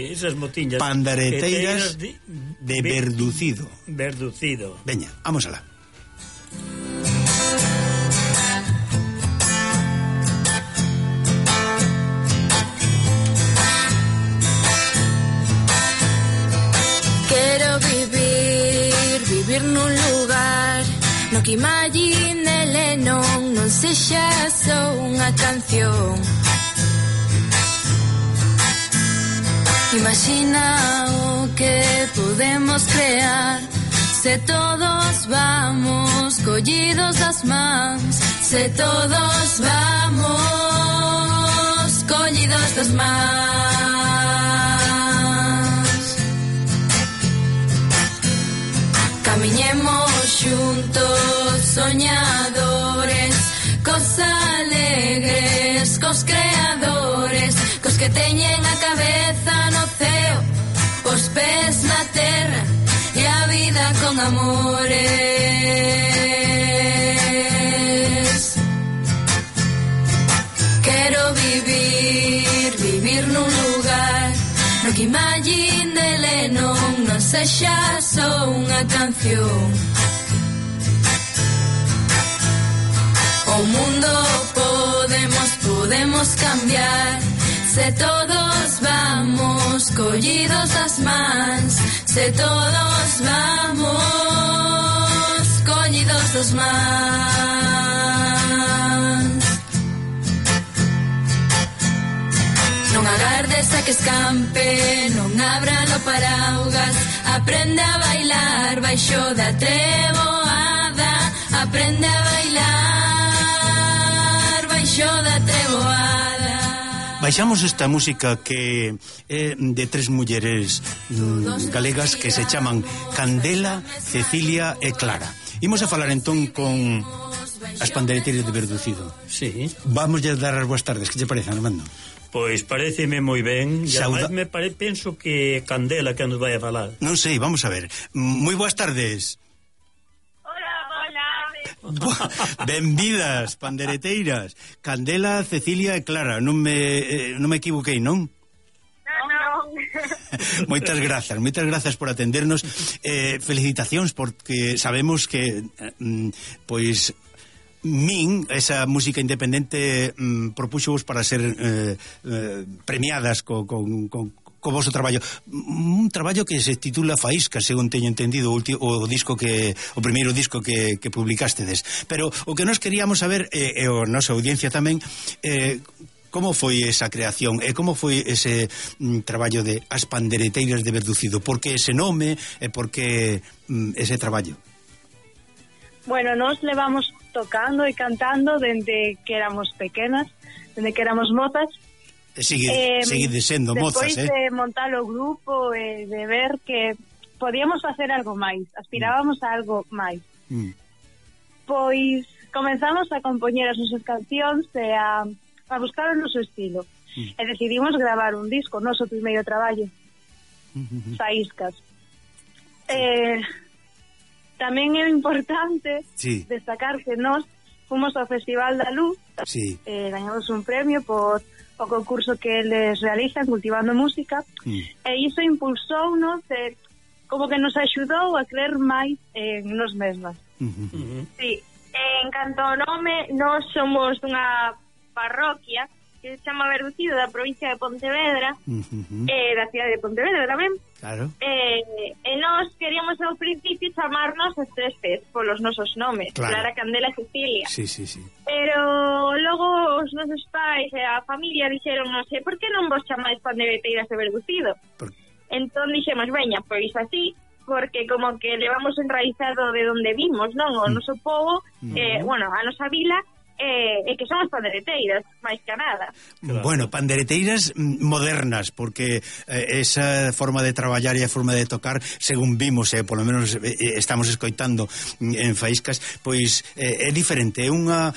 Esas motiñas pandereteiras de verducido. Veña, vamos alá. Quero vivir nun lugar no que imagine non sexa só unha canción. Imagina o que podemos crear se todos vamos collidos das mans, se todos vamos collidos das mans. Camiñemos xuntos soñadores, cos alegres, cos creadores, cos que teñen a cabeza no ceo, os pés na terra e a vida con amores. Quero vivir nun lugar no que imagine de Lennon non sexa só unha canción. O mundo podemos cambiar se todos vamos collidos das mans, se todos vamos collidos das mans. Non agardes a que escampe, non abra no paraugas, aprende a bailar baixo da treboada, aprende a bailar baixo da treboada. Baixamos esta música que é de tres mulleres galegas que se chaman Candela, Cecilia e Clara. Imos a falar entón con as pandereteiras de Verducido. Sí. Vamos a dar as boas tardes, que te parece, Armando? Pois pareceme moi ben. E ademais penso que Candela que nos vai a falar. Non sei, vamos a ver. Moi boas tardes. Benvidas, pandereteiras. Candela, Cecilia e Clara. Non me equivoquei, non? Non. Moitas grazas por atendernos. Felicitacións porque sabemos que pois min, esa música independente propúxovos para ser premiadas co vosso traballo. Un traballo que se titula Faíscas, según teño entendido, o primeiro disco que publicastedes. Pero o que nos queríamos saber, e a nosa audiencia tamén, como foi esa creación e como foi ese traballo de As Pandereteiras de Verducido? Por que ese nome e por que ese traballo? Bueno, nos levamos tocando e cantando dende que éramos pequenas, dende que éramos mozas. Seguide sendo mozas, Despois de montar o grupo e de ver que podíamos facer algo máis, aspirábamos a algo máis. Pois comenzamos a compoñer as nosas cancións e a buscar o noso estilo. E decidimos gravar un disco, o noso primeiro traballo, Faíscas. Tamén é importante destacar que nós fomos ao Festival da Luz, gañamos un premio por o concurso que eles realizan Cultivando Música, e iso impulsounos, como que nos axudou a creer máis en nos mesmas. Sí, en canto ao nome, nós somos unha parroquia que se chama Verducido, da provincia de Pontevedra, da cidade de Pontevedra tamén. Claro. E nós queríamos ao principio chamarnos as tres P's polos nosos nomes, Clara, Candela e Cecilia. Sí. Pero logo os nosos pais e a familia dixeron, non sei, por que non vos chamáis Pandereteiras de Verducido? Entón dixemos, veña, pois así, porque como que levamos enraizado de onde vimos, non? O noso povo, a nosa vila, e que son as pandereteiras, máis que nada. Bueno, pandereteiras modernas, porque esa forma de traballar e a forma de tocar, según vimos, polo menos estamos escoitando en Faíscas, pois é diferente, é unha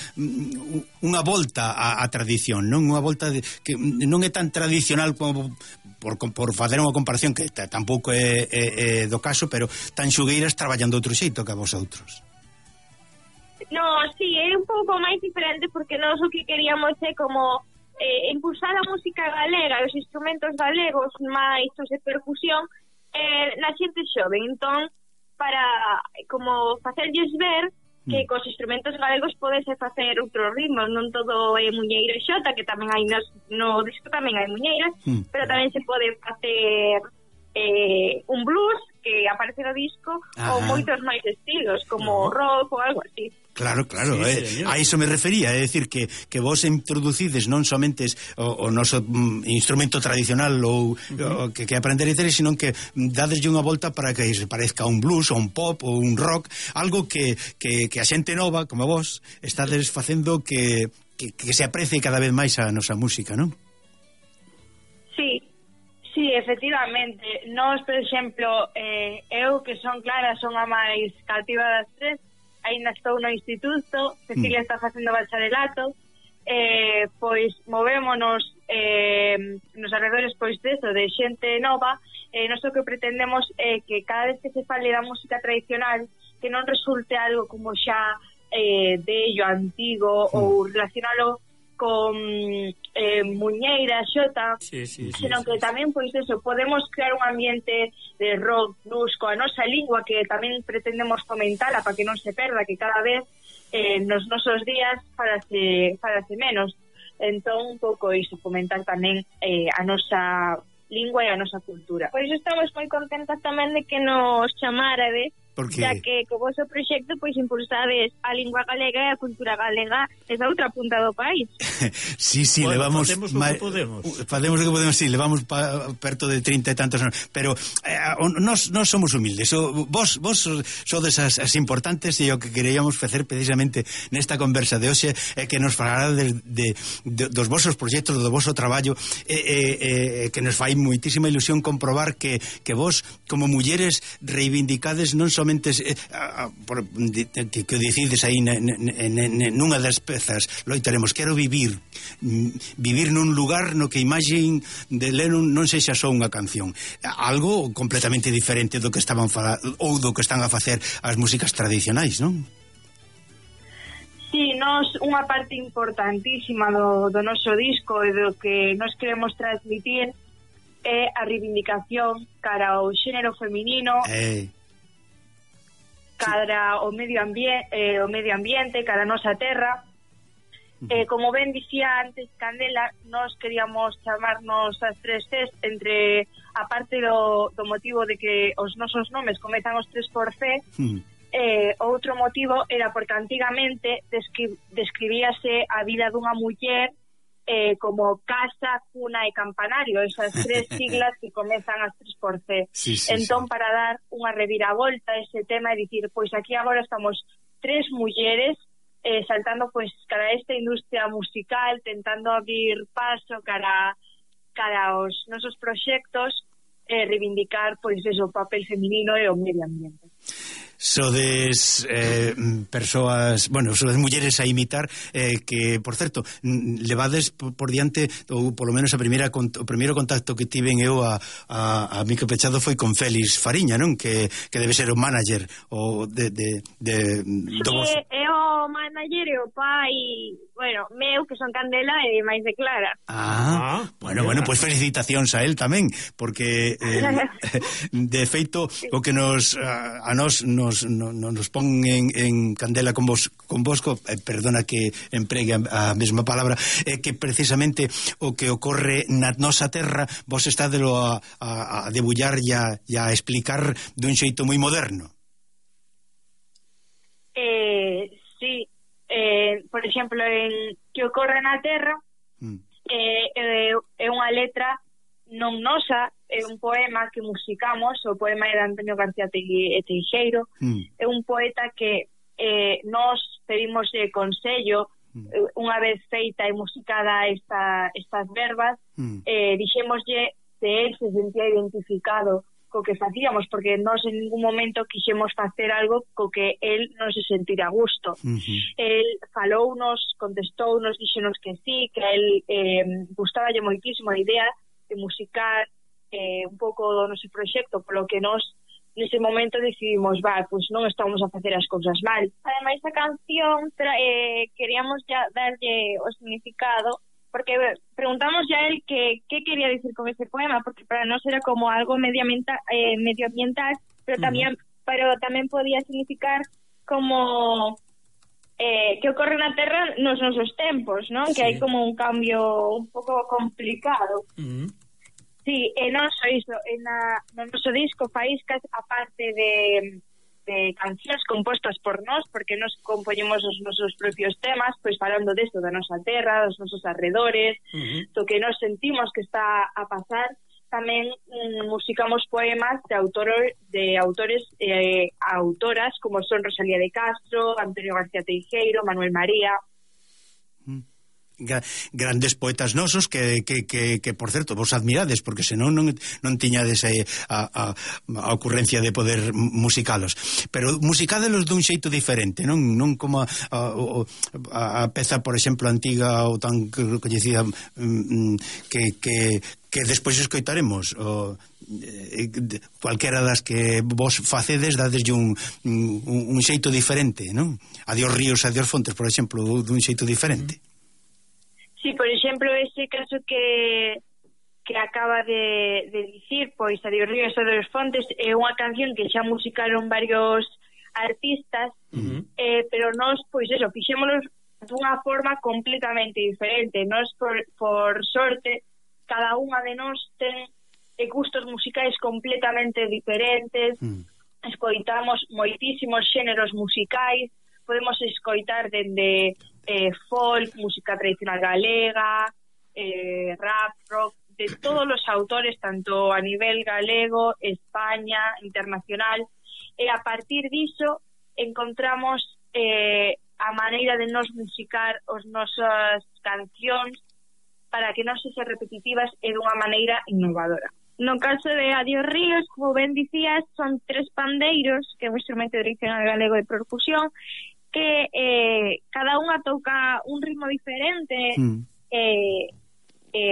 volta á tradición, non? Unha volta que non é tan tradicional como por facer unha comparación que tampouco é do caso, pero tan xugueiras traballando outro xeito que a vosotros. No, sí, é un pouco máis diferente porque nós o que queríamos é como impulsar a música galega e os instrumentos galegos máis os de percusión na xente xoven. Entón, para como facerlles ver que cos instrumentos galegos podese facer outros ritmos, non todo é muñeira e xota, que tamén hai no disco tamén hai muñeiras, pero tamén se pode facer un blues que aparece no disco, ou moitos máis estilos, como rock ou algo así. Claro, a iso me refería, é dicir que vos introducides non somente o noso instrumento tradicional ou que aprender a ter, sino que dadeslle unha volta para que se parezca un blues ou un pop ou un rock, algo que a xente nova, como vos, estades facendo que se aprecie cada vez máis a nosa música, non? Sí, efectivamente. Nós, por exemplo, eu que son Clara, son a máis cativa das tres, ainda estou no instituto, Cecilia está facendo bacharelato, pois movémonos nos arredores pois deso, de xente nova, nós o que pretendemos é que cada vez que se fale da música tradicional, que non resulte algo como xa bello, antigo, ou relacionalo con muñeira, xota, senón que tamén, pois eso, podemos crear un ambiente de rock, blues, coa nosa lingua, que tamén pretendemos fomentala para que non se perda, que cada vez nos nosos días farase menos. Entón, un pouco iso, fomentar tamén a nosa lingua e a nosa cultura. Por iso estamos moi contentas tamén de que nos chamarades, ya que co vosso proxecto pois impulsades a lingua galega e a cultura galega esa outra punta do país. Sí, bueno, levamos facemos o que podemos. Facemos o que podemos, sí, levamos perto de 30 e tantos anos, pero nós somos humildes. Vos sodes as importantes, e o que queríamos facer precisamente nesta conversa de hoxe é que nos falara dos vosos proxectos, do voso traballo, que nos fai moitísima ilusión comprobar que vos, como mulleres, reivindicades non somente que decides aí nunha das pezas, loitaremos, quero vivir nun lugar no que a imaxe de Lennon non sexa só unha canción, algo completamente diferente do que estaban ou do que están a facer as músicas tradicionais, non? Sí, unha parte importantísima do noso disco e do que nos queremos transmitir é a reivindicación cara ao xénero feminino, cara ao medio ambiente, cara a nosa terra. Como ben dicía antes Candela, nós queríamos chamarnos as tres Cs, entre a parte do motivo de que os nosos nomes comezan os tres por C. Outro motivo era porque antigamente describíase a vida dunha muller como casa, cuna e campanario, esas tres siglas que comezan as tres por C. Entón, para dar unha reviravolta a ese tema e dicir, pois aquí agora estamos tres mulleres saltando pois cara a esta industria musical, tentando abrir paso cara aos nosos proxectos, reivindicar pois eso, o papel feminino e o medio ambiente. Sodes persoas, sodes mulleres a imitar, que, por certo, levades por diante, ou polo menos o primeiro contacto que tiven eu a Mico Pechado foi con Félix Fariña, non? Que debe ser o manager o é o manager e o pai, meu, que son Candela, e máis de Clara. Bueno, pois felicitacións a él tamén, porque de feito o que nos pon en candela con Bosco, perdona que empregue a mesma palabra, é que precisamente o que ocorre na nosa terra vos estádelo a debullar e a explicar dun xeito moi moderno. Sí, por exemplo, en que ocorre na terra é unha letra non nosa, é un poema que musicamos, o poema é de Antonio García Teixeiro, é un poeta que nós pedimos consello unha vez feita e musicada estas verbas, dixémoslle se él se sentía identificado co que facíamos, porque nós en ningún momento quixemos facer algo co que él non se sentira a gusto. El falounos, contestounos, dixenos que sí, que a él gustaballe moitísimo a idea de musicar un pouco do noso proxecto, polo que nós nese momento decidimos, pois non estamos a facer as cousas mal. Ademais, a canción queríamos ya darlle o significado porque preguntamos ya él qué quería decir con ese poema, porque para nós era como algo medioambiental, pero tamén podía significar como que ocorre na Terra nos nosos tempos, non? Sí. Que hai como un cambio un pouco complicado. Sí, e non só iso, no noso disco Faíscas, aparte de cancións compostas por nós, porque nos compoñemos os nosos propios temas, pois falando desto, da nosa terra, dos nosos arredores, do que nos sentimos que está a pasar. Tamén musicamos poemas de autores e autoras como son Rosalía de Castro, Antonio García Teijeiro, Manuel María. Grandes poetas nosos que por certo, vos admirades, porque senón non tiñades a ocurrencia de poder musicalos, pero musicadelos dun xeito diferente, non como a peza, por exemplo, antiga ou tan coñecida que despois escoitaremos, cualquera das que vos facedes, dadeslle un xeito diferente, non? Adiós ríos, adiós fontes, por exemplo, dun xeito diferente. Sí, por exemplo, ese caso que acaba de dicir, pois Adiós ríos, adiós fontes, é unha canción que xa musicaron varios artistas, pero nós, pois eso, fixémonos dunha forma completamente diferente. Nós, por sorte, cada unha de nós ten gustos musicais completamente diferentes, escoitamos moitísimos xéneros musicais, podemos escoitar dende folk, música tradicional galega, rap, rock, de todos os autores, tanto a nivel galego, España, internacional, e a partir diso encontramos a maneira de nos musicar os nosas cancións para que non sexan repetitivas e dunha maneira innovadora. No caso de Adiós ríos, como ben dicías, son 3 pandeiros, que é un instrumento tradicional galego de percusión, que cada unha toca un ritmo diferente,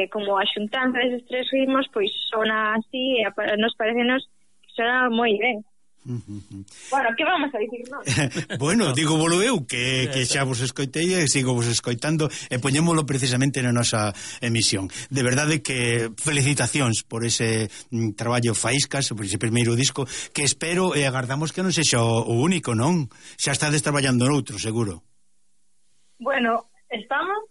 como a xuntanza deses 3 ritmos, pois sona así, e nos parecenos que sona moi ben. Bueno, que vamos a dicir, non? Bueno, digo volo eu que xa vos escoitei e sigo vos escoitando e poñémolo precisamente na nosa emisión. De verdade que felicitacións por ese traballo Faíscas, por ese primeiro disco, que espero e agardamos que non sexa o único, non? Xa estades traballando noutro, seguro. Bueno, estamos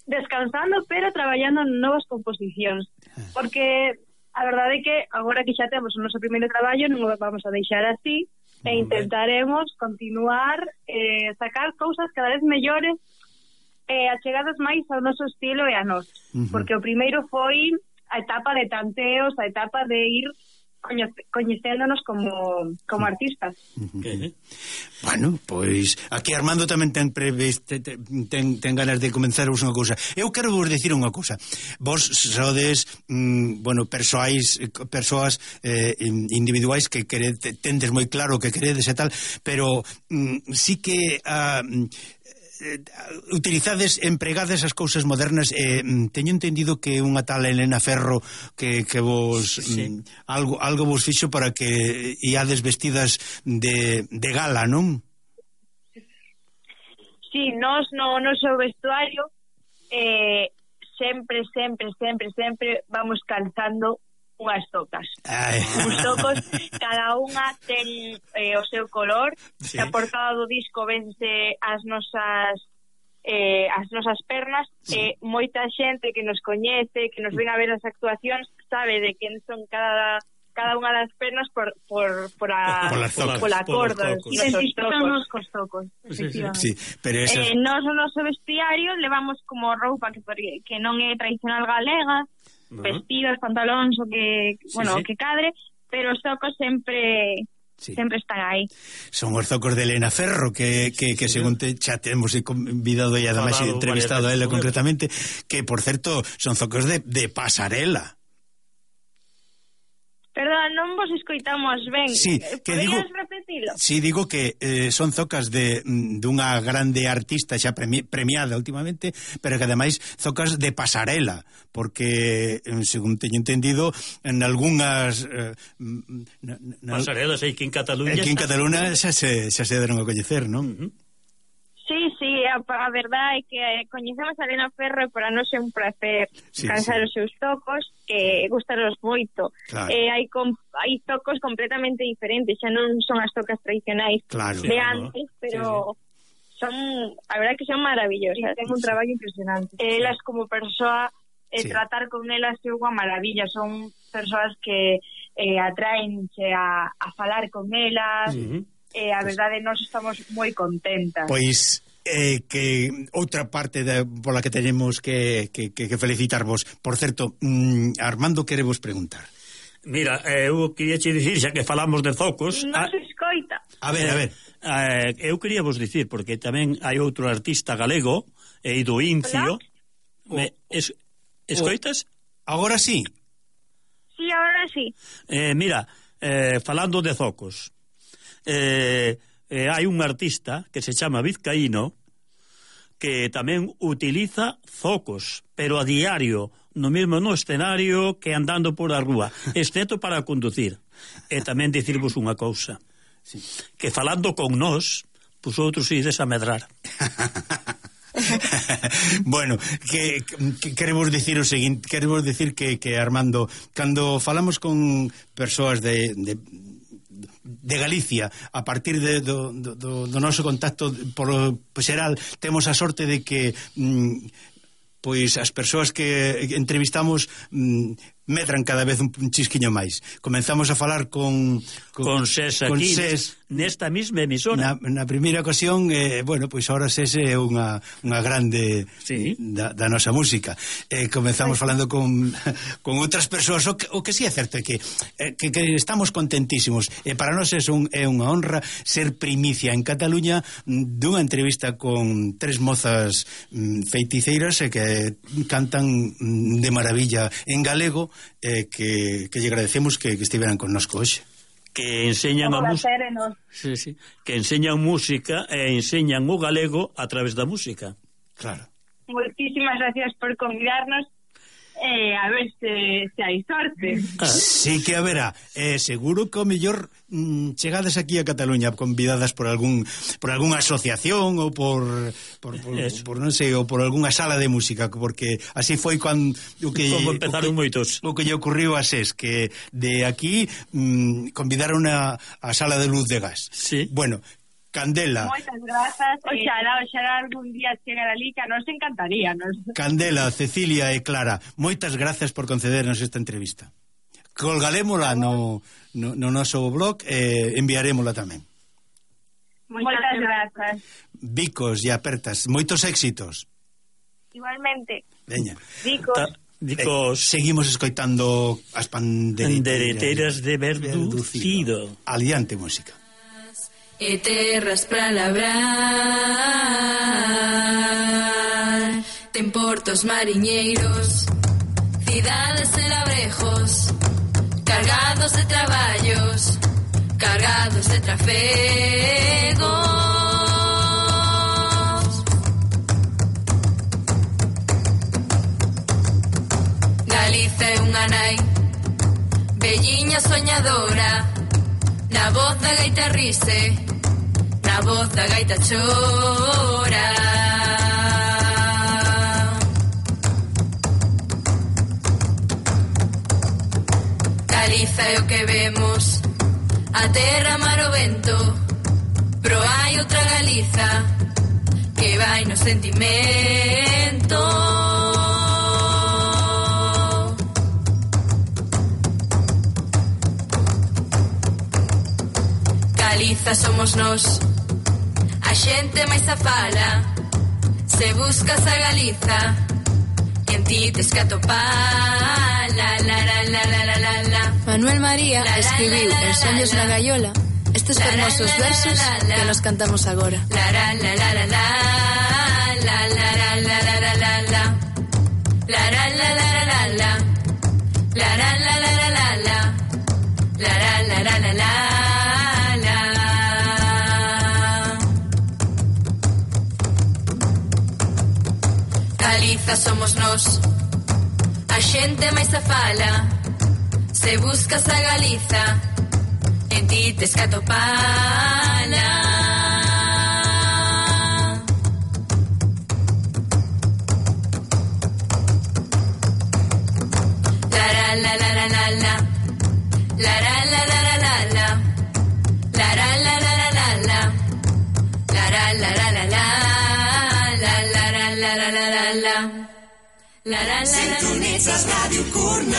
descansando, pero traballando en novas composicións, porque a verdade é que agora que xa temos o noso primeiro traballo non o vamos a deixar así e intentaremos continuar sacar cousas cada vez mellores achegadas máis ao noso estilo e a nós, porque o primeiro foi a etapa de tanteos, a etapa de ir coñecéndonos como artistas. Bueno, pois aquí Armando tamén ten ganas de comenzaros unha cousa. Eu quero vos dicir unha cousa. Vos sodes persoas individuais que tendes moi claro que queredes e tal, pero sí que utilizades, empregades as cousas modernas. Teño entendido que unha tal Elena Ferro que vos algo vos fixo para que iades vestidas de gala, non? Sí, nós no noso vestuario sempre vamos calzando unhas tocas. Uns tocos, cada unha ten o seu color. A portada do disco vense as nosas pernas, e moita xente que nos coñece, que nos ven a ver as actuacións, sabe de quen son cada unha das pernas pola corda. Identificamos cos tocos, efectivamente. Sí, pero eso... Nós no noso vestiario levamos como roupa que non é tradicional galega, vestidos, pantalóns, o que cadre, pero os zocos sempre están aí. Son os zocos de Elena Ferro que según xa temos convidado e ademais entrevistado a ela concretamente, que por certo son zocos de pasarela. Perdón, non vos escoitamos ben. Sí, poderías repetilo? Sí, digo que son zocas dunha grande artista xa premiada últimamente, pero que ademais zocas de pasarela, porque, según teño entendido, en algunhas... pasarelas aí que en Cataluña... Aquí en Cataluña xa se deron a coñecer, non? Sí, Sí, a verdade é que coñecemos a Elena Ferro e para nós é un placer cansar os seus tocos, que gustaros moito. Claro. Hai tocos completamente diferentes, xa non son as tocas tradicionais de antes, pero son, a verdade que son maravillosas. Ten un traballo impresionante. Elas como persoa, tratar con elas é unha maravilla, son persoas que atraenche a falar con elas, a verdade nós estamos moi contentas. Pois que outra parte pola que tenemos que felicitarvos. Por certo, Armando quere vos preguntar. Mira, eu quería che dicir, xa que falamos de focos... Non se escoita. A ver. Eu quería vos dicir, porque tamén hai outro artista galego, do Incio... Escoitas? Agora sí. Sí, agora sí. Mira, falando de focos... hai un artista que se chama Vizcaíno que tamén utiliza focos, pero a diario, no mesmo no escenario que andando por a rúa, excepto para conducir. E tamén dicirvos unha cousa, que falando con nós, vosotros ides a medrar. Bueno, que queremos dicir o seguinte, queremos dicir que Armando, cando falamos con persoas de Galicia, a partir do noso contacto por xeral, temos a sorte de que pois as persoas que entrevistamos medran cada vez un chisquiño máis. Comenzamos a falar con SES aquí, nesta mesma emisora. Na primeira ocasión, bueno, pois ahora SES é unha grande da nosa música. Comenzamos falando con outras persoas, o que sí é certo é que estamos contentísimos. Para nós é unha honra ser primicia en Cataluña dunha entrevista con tres mozas feiticeiras que cantan de maravilla en galego, que lle agradecemos que estiveran connosco hoxe. Que enseñan a música, que enseñan música e enseñan o galego a través da música. Claro. Moitísimas gracias por convidarnos. A ver se hai sorte. Sí que haberá. Seguro que o mellor chegades aquí a Cataluña convidadas por algunha asociación ou por non sei, ou por algunha sala de música, porque así foi como empezaron moitos. O que lle ocurriu a SES, que de aquí convidaron a sala de luz de gas. Sí. Bueno, Candela. Moitas grazas. Oxalá algún día chegar ali, que nos encantaría. Candela, Cecilia e Clara, moitas grazas por concedernos esta entrevista. Colgarémola no noso blog e enviarémola tamén. Moitas grazas. Bicos e apertas, moitos éxitos. Igualmente. Veña. Bicos. Seguimos escoitando as pandereteiras de Verducido. Aliante música. E terras pra labrar, ten portos mariñeiros, cidades e labrejos, cargados de traballos, cargados de trafegos. Galiza é unha nai, velliña soñadora, na voz da gaita rise, na voz da gaita chora. Galiza é o que vemos, a terra, mar, o vento, pero hai outra Galiza que vai no sentimento. Galiza somos nós, a xente máis afala. Se buscas a Galiza, en ti tes que atopar. La, la, la, la, la, la, la, la. Manuel María escribiu En Soños na Gaiola estes fermosos versos que nos cantamos agora. La, la, la, la, la, la, la, la, la, la, la, la, la, la. La, la, la, la, la, la, la. La, la, la, la, la, la, la. La, la, la, la, la, la. Galiza somos nós, a xente máis afala. Se buscas a Galiza, en ti tes que atopala. la la la la la la la, la la la la la la la, la la la la la la, la la la la la la la, la la la la. Sintonitzes Ràdio Cornellà.